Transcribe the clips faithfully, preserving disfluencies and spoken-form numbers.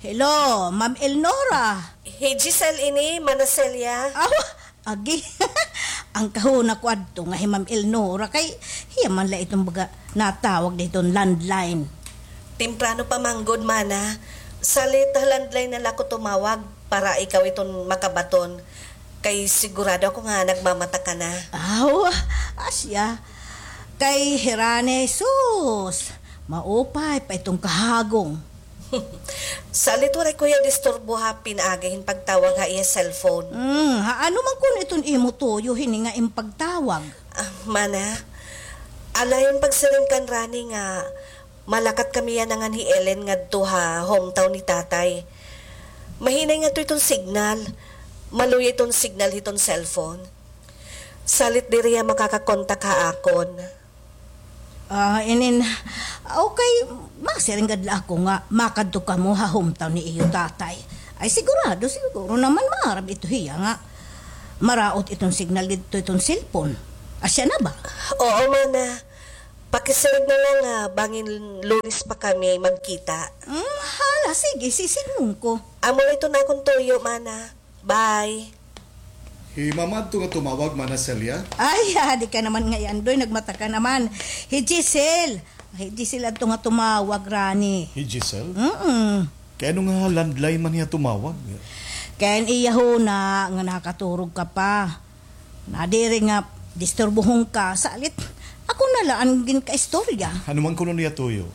Hello, Ma'am Elnora. Hi Giselle ini, Mana Celia. Aw, agi. An kahuna ko adto nga hi Ma'am Elnora kay hiya man la iton baga natawag didto ha landline. Temprano pa man gud, mana. Salit ha landline na la ako tumawag para ikaw iton makabaton. Kay sigurado ako nga nagmamata ka na. Aw, asya. Kay hi Rani, sus, maupay pa iton kahagong. Salit waray ko hiya disturbo ha pinaagi hin pagtawag ha iya cellphone. Hmm, ha ano man kuno iton imo tuyo hini nga im pagtawag? Ah, mana, alayon pagsiring kan Rani nga malakat kami yana ngan hi Ellen ngadto ha hometown ni tatay. Mahinay ngadto iton signal. Maluya iton signal hiton cellphone. Salit diri hiya makakakontak ha akon. Ah, inin, okay, masiring gad la ako nga makadto kamo ha hometown ni iyo tatay. Ay, sigurado, siguro naman maaram ito hiya nga maraot iton signal didto iton cellphone. Asya na ba? Oo, mana. Pakisiring na la nga bangin Lunes pa kami magkita. Hmm, hala, sige, sisidngon ko. Amo la iton akon tuyo, mana. Bye. Hi Mama adto nga tumawag, Mana Celia? Ay, adi ka naman ngay-an, Doy, nagmata ka naman. Hi Giselle. Hi Giselle adto nga tumawag, Rani. Hi Giselle? Mm-mm. Kay ano nga landline man hiya tumawag? Kay an iya huna nga nakaturog ka pa. Nadiri nga disturbuhon ka, salit ako na la an ginkaistorya. Ano man kuno niya tuyo?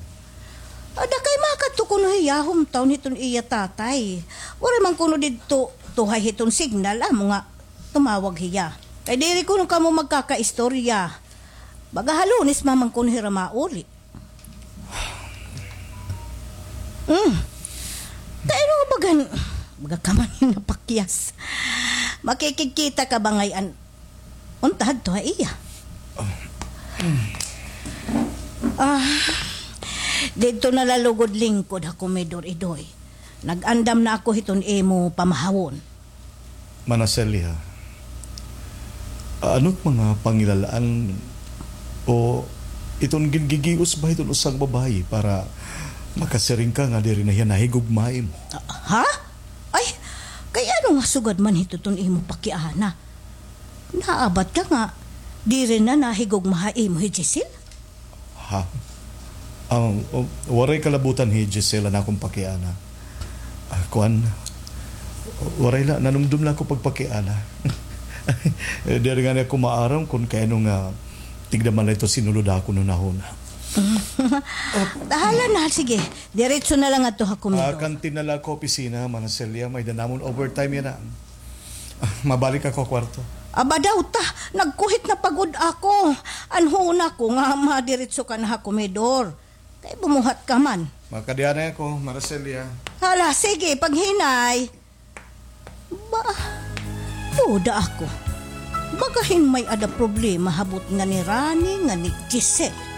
Ada kay makadto kuno hiya hometown hiton iya tatay. Waray man kuno didto tuhay hiton signal, amo nga tumawag hiya. Kay diri kuno kamo magkakaistorya. Baga ha Lunes man kuno hira mauli. Hmm. Kay ano bagan, baga ka man nga pakyas. Makikigkita ka ba ngay-an? Unta hadto ha iya. Ah, didto na la lugod lingkod ha komedor, Idoy. Nag-andam na ako hiton imo pamahawon. Mana Celia, ano it mga pangilalaan o iton gingigios ba hiton usa nga babaye para makasiring ka nga diri na hiya nahigugma ha imo? Ah, ha? Ay, kay ano nga sugad man hito iton imo pakiana? Naabat ka nga diri na nahigugma ha imo hi Giselle? Ha? Ang, o, waray kalabutan hi Giselle an akon pakiana. Ah, kuan, waray la, nanumdom la ako pagpakiana. Diri ngani ako maaram kon kay ano nga tigda man la ito sinulod ha akon hunahuna. Hala na, sige. Diretso na la ngadto ha komedor. Ah, kantin na la ako opisina, Mana Celia, may-ada namon overtime yana. Ah, mabalik ako ha kwarto. Aba daw ta, nagkuhit na pa gud ako. An huna ko nga madiretso ka na ha komedor. Kay bumuhat ka man. Makadianay ako, Mana Celia. Hala, sige, paghinay. Ba, duda ako. Baga hin may-ada problema ha butnga ni Rani ngan ni Giselle.